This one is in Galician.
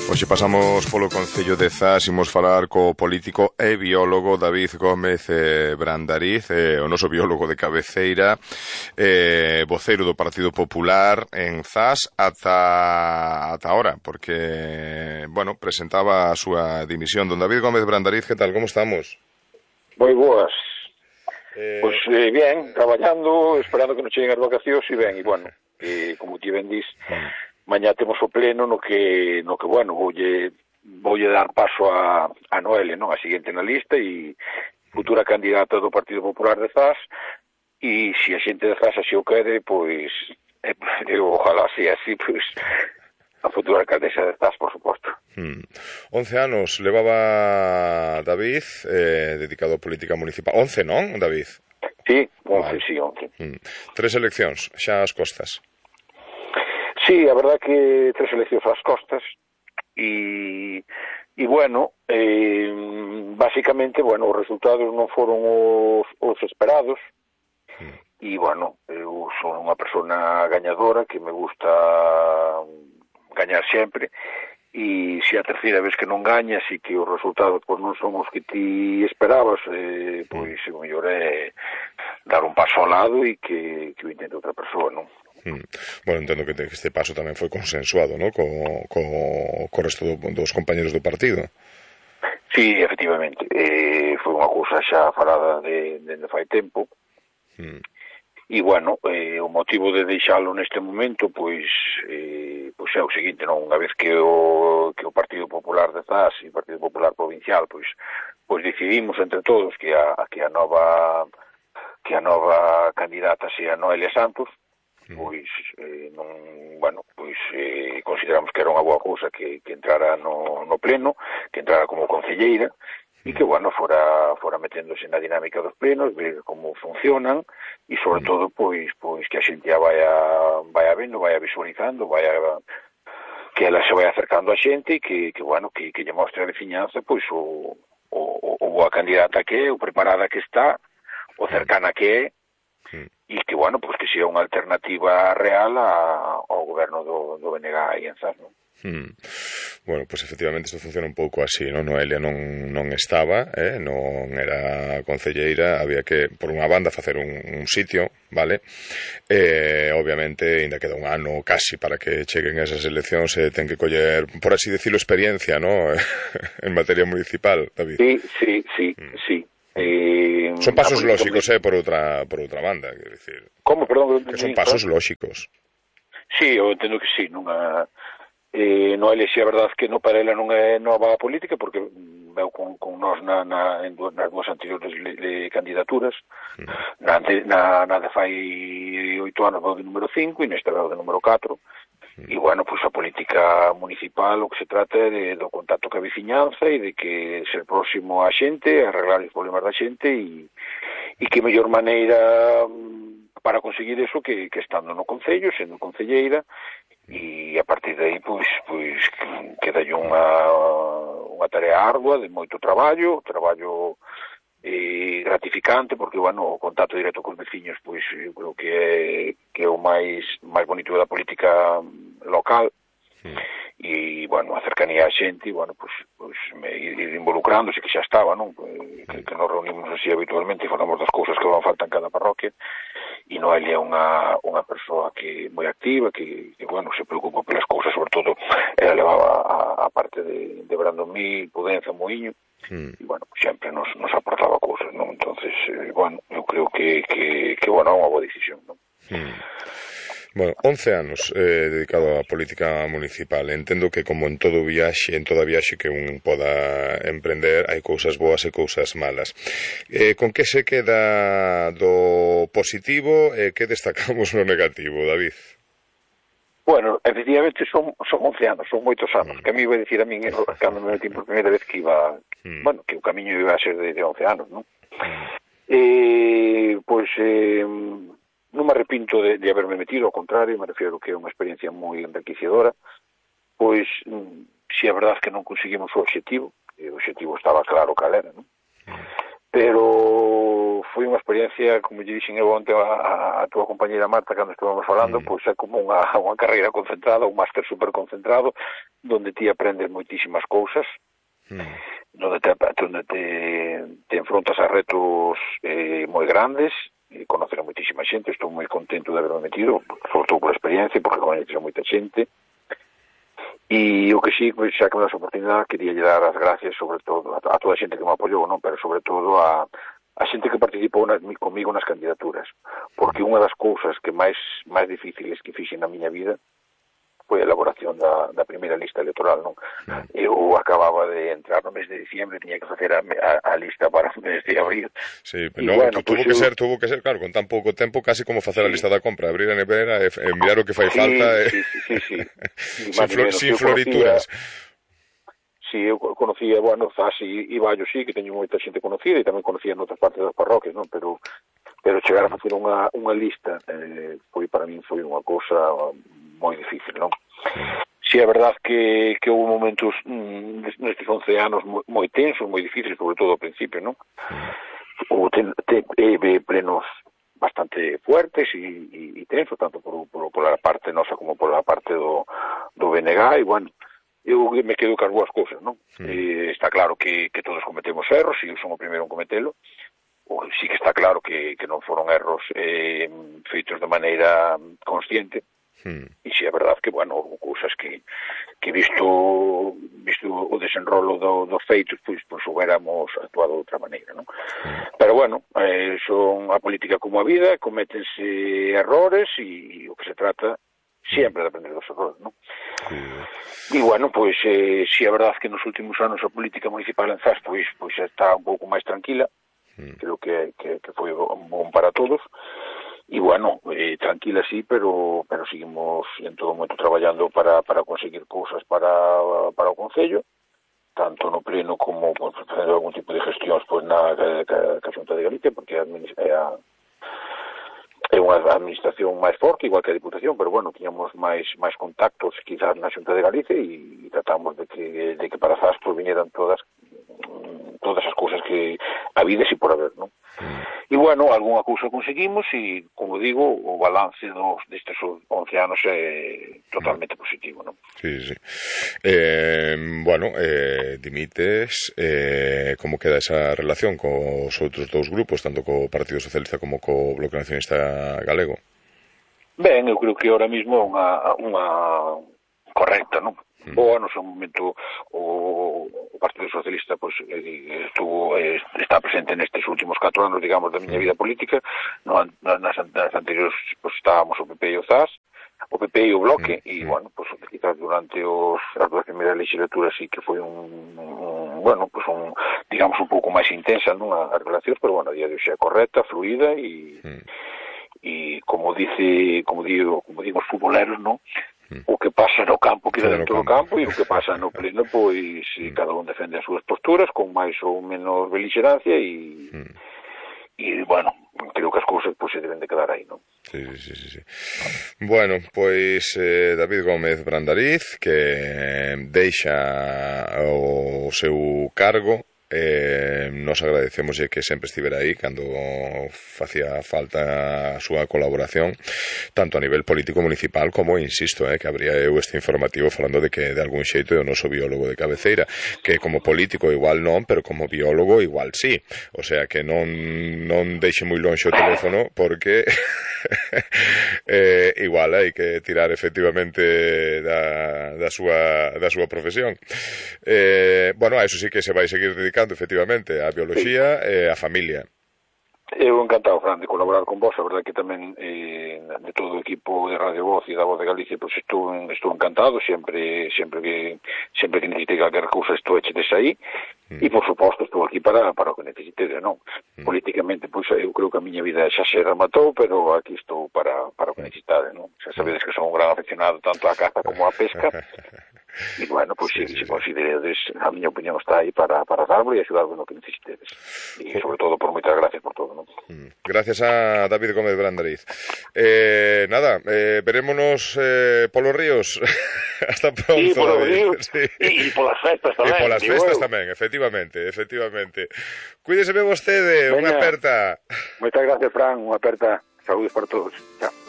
Hoxe pasamos polo Concello de Zas, imos falar co político e biólogo David Gómez Brandariz, o noso biólogo de cabeceira, voceiro do Partido Popular en Zas ata ahora, porque, bueno, presentaba a súa dimisión. Don David Gómez Brandariz, que tal, como estamos? Moi boas. Pois bien, traballando, esperando que non cheguen as vacacións e ben, e bueno, como ti ben dis, mañá temos o pleno no que bueno, voulle dar paso a Noelia, non? A seguinte na lista e futura candidata do Partido Popular de Zas, e se a xente de Zas así o quere, pois ojalá sea así, pois a futura alcaldesa de Zas, por suposto. 11 anos levaba David dedicado a política municipal. 11, non, David? Sí, 11, vale. Sí, 11. 3 eleccións, xa ás costas. Sí, a verdad que 3 eleccións ás costas e bueno, basicamente, bueno, os resultados non foron os esperados e, bueno, eu son unha persona gañadora que me gusta gañar sempre e se a terceira vez que non gañas e que os resultados pois non son os que ti esperabas, pois o mellor é dar un paso ao lado e que o intente outra persoa, non? Bueno, entendo que este paso tamén foi consensuado, non? Co resto dos compañeros do partido. Sí, efectivamente, foi unha cousa xa falada dende fai tempo. E, bueno, o motivo de deixalo neste momento, pois é o seguinte, non? Unha vez que o Partido Popular de Zas e o Partido Popular Provincial, pois decidimos entre todos que a nova candidata sea Noelia Santos, pois consideramos que era unha boa cousa que entrara no pleno, que entrara como concelleira e que, bueno, fora meténdose na dinámica dos plenos, ver como funcionan e, sobre todo, pois que a xente a vaya vendo, vaya visualizando, que ela se vai acercando a xente e que lle mostre a veciñanza, pois, o boa candidata que é, o preparada que está, o cercana que é, e que, bueno, pois que sea unha alternativa real ao goberno do BNG aí en Zas, non? Bueno, pois efectivamente isto funciona un pouco así, non? Noelia non estaba, non era concelleira, había que, por unha banda, facer un sitio, vale? Obviamente, ainda queda un ano casi para que cheguen esas eleccións, ten que coller, por así decirlo, experiencia, non? En materia municipal, David. Sí. Son pasos lóxicos, por outra banda, quero dicir. Como, perdón? Que son pasos lóxicos. Sí, eu entendo que sí, Noelia, si é verdade que para ela non é nova a política, porque veu con nós nas dúas anteriores candidaturas, na de fai 8 anos veu de número 5 e nesta veu de número 4. E, bueno, pois a política municipal o que se trata é do contacto ca veciñanza e de que ser próximo á xente, arreglar os problemas da xente e que mellor maneira para conseguir eso que estando no concello, sendo concelleira, e a partir de aí pois queda unha tarea ardua de moito traballo gratificante, porque, bueno, o contacto directo cos veciños, pois eu creo que é o máis bonito da política local, e, bueno, a cercanía á xente, e, bueno, pois ir involucrándose, que xa estaba, non? Que nos reunimos así habitualmente e falamos das cousas que van falta en cada parroquia, e Noelia é unha persoa que moi activa, que bueno, se preocupa pelas cousas, sobre todo ela levaba a parte de Brandomí, Pudenza, Moiño, e, bueno, sempre nos aportaba cousas, non? Entonces, bueno, eu creo que bueno, é unha boa decisión, non? Bueno, 11 anos dedicado á política municipal. Entendo que, como en toda viaxe que un poda emprender, hai cousas boas e cousas malas. Con que se queda do positivo e que destacamos no negativo, David? Bueno, efectivamente son 11 anos, son moitos anos, que a mí iba a dicir a min cando me metí por primeira vez que iba, bueno, que o camiño iba a ser de 11 anos, non? Pois non me arrepinto de haberme metido, ao contrario, me refiero que é unha experiencia moi enriquecedora, pois si é verdade que non conseguimos o obxectivo estaba claro cal era, non? Pero foi unha experiencia, como lle dixen eu onte a túa compañeira Marta cando estuvamos falando, pois é como unha carreira concentrada, un máster super concentrado, donde ti aprendes moitísimas cousas, donde te enfrontas a retos moi grandes, e conocer a moitísima xente. Estou moi contento de haberme metido, sobre todo por experiencia, porque coñeces a moita xente. E o que sí, xa que me das a oportunidade, quería lle dar as gracias sobre todo a toda a xente que me apoiou, non? Pero sobre todo a xente que participou comigo nas candidaturas, porque unha das cousas que máis difíciles que fixen na miña vida foi a elaboración da primeira lista electoral, non? Eu acababa de entrar no mes de diciembre, tiña que facer a lista para o mes de abril. Sí, pero bueno, tuvo que ser, claro, con tan pouco tempo, casi como facer a lista da compra, abrir a nevera e mirar o que fai falta. Sí. Sin florituras. Sí, eu conocía, bueno, Zas e Ballo, sí, que teño moita xente conocida, e tamén conocía en outras partes das parroquias, non? Pero chegar a facer unha lista para min foi unha cousa moi difícil, non? Si é verdad que houve momentos nestes 11 anos moi tensos, moi difíciles, sobre todo ao principio, non? Houve plenos bastante fuertes e tensos, tanto pola parte nosa como pola parte do BNG, e bueno, eu me quedo cas boas cousas, non? Está claro que todos cometemos erros, e eu son o primeiro en cometelo. Sí que está claro que non foron erros feitos de maneira consciente, e si é verdad que, bueno, houve cousas que visto o desenrolo dos feitos, pois hubiéramos actuado de outra maneira, non? Pero, bueno, son a política como a vida, cométense errores, e o que se trata sempre de aprender dos errores, non? E, bueno, pois, si é verdad que nos últimos anos a política municipal en Zas, pois está un pouco máis tranquila, creo que foi bom para todos, e bueno, tranquila sí, pero seguimos en todo momento traballando para conseguir cousas para o Concello, tanto no pleno como facer algún tipo de gestións na Xunta de Galicia, porque é unha administración máis forte, igual que a Diputación, pero bueno, tiñamos máis contactos quizás na Xunta de Galicia, e tratamos de que para Zas viñeran todas as cousas que habides e por haber, non? E, bueno, algunha cousa conseguimos, e, como digo, o balance destes 11 anos é totalmente positivo, non? Sí. Bueno, dimites, como queda esa relación cos outros dous grupos, tanto co Partido Socialista como co Bloque Nacionalista Galego? Ben, eu creo que ahora mismo é unha correcta, non? Boa, no seu momento o Partido Socialista está presente nestes últimos 4 anos, digamos, da miña vida política. Nas anteriores estábamos o PP e o Zas, o PP e o Bloque, e, bueno, quizás durante as duas primeiras legislaturas sí que foi digamos, un pouco máis intensa, non, as relacións, pero, bueno, a día de hoxe é correcta, fluida, e como digo os futboleros, non? O que pasa no campo queda dentro do campo, e o que pasa no pleno, pois cada un defende as súas posturas con máis ou menos belixerancia, e bueno, creo que as cousas se deben de quedar aí, non? Sí. Bueno, pois David Gómez Brandariz, que deixa o seu cargo, nos agradecemos que sempre estivera aí cando facía falta a súa colaboración, tanto a nivel político municipal como, insisto, que habría eu este informativo falando de que de algún xeito é o noso biólogo de cabeceira, que como político igual non, pero como biólogo igual sí, o sea que non deixe moi lonxe o teléfono, porque igual hai que tirar efectivamente da súa profesión. Bueno, a eso sí que se vai seguir dedicando efectivamente a bioloxía e a familia. Eu encantado, Fran, de colaborar con vos. A verdade que tamén de todo o equipo de Radio Voz e da Voz de Galicia, pois estou encantado, sempre que necesite calquer cousa estou echedes aí, e por suposto estou aquí para o que necesitedes, non? Políticamente, pois eu creo que a miña vida xa se rematou, pero aquí estou para o que necesitades, non? Xa sabedes que son un gran aficionado tanto á caza como á pesca, E, bueno, pois se consideredes, a miña opinión está aí para darvos e axudarvos no que necesitedes. E, sobre todo, por moitas gracias por todo, non? Gracias a David Gómez Brandariz. Nada, verémonos polos ríos. Hasta pronto, sí, polos ríos, sí. E polas festas tamén. E polas festas tamén, efectivamente. Cuídeseme vostede, unha aperta. Moitas gracias, Fran, unha aperta. Saúdes para todos. Chao.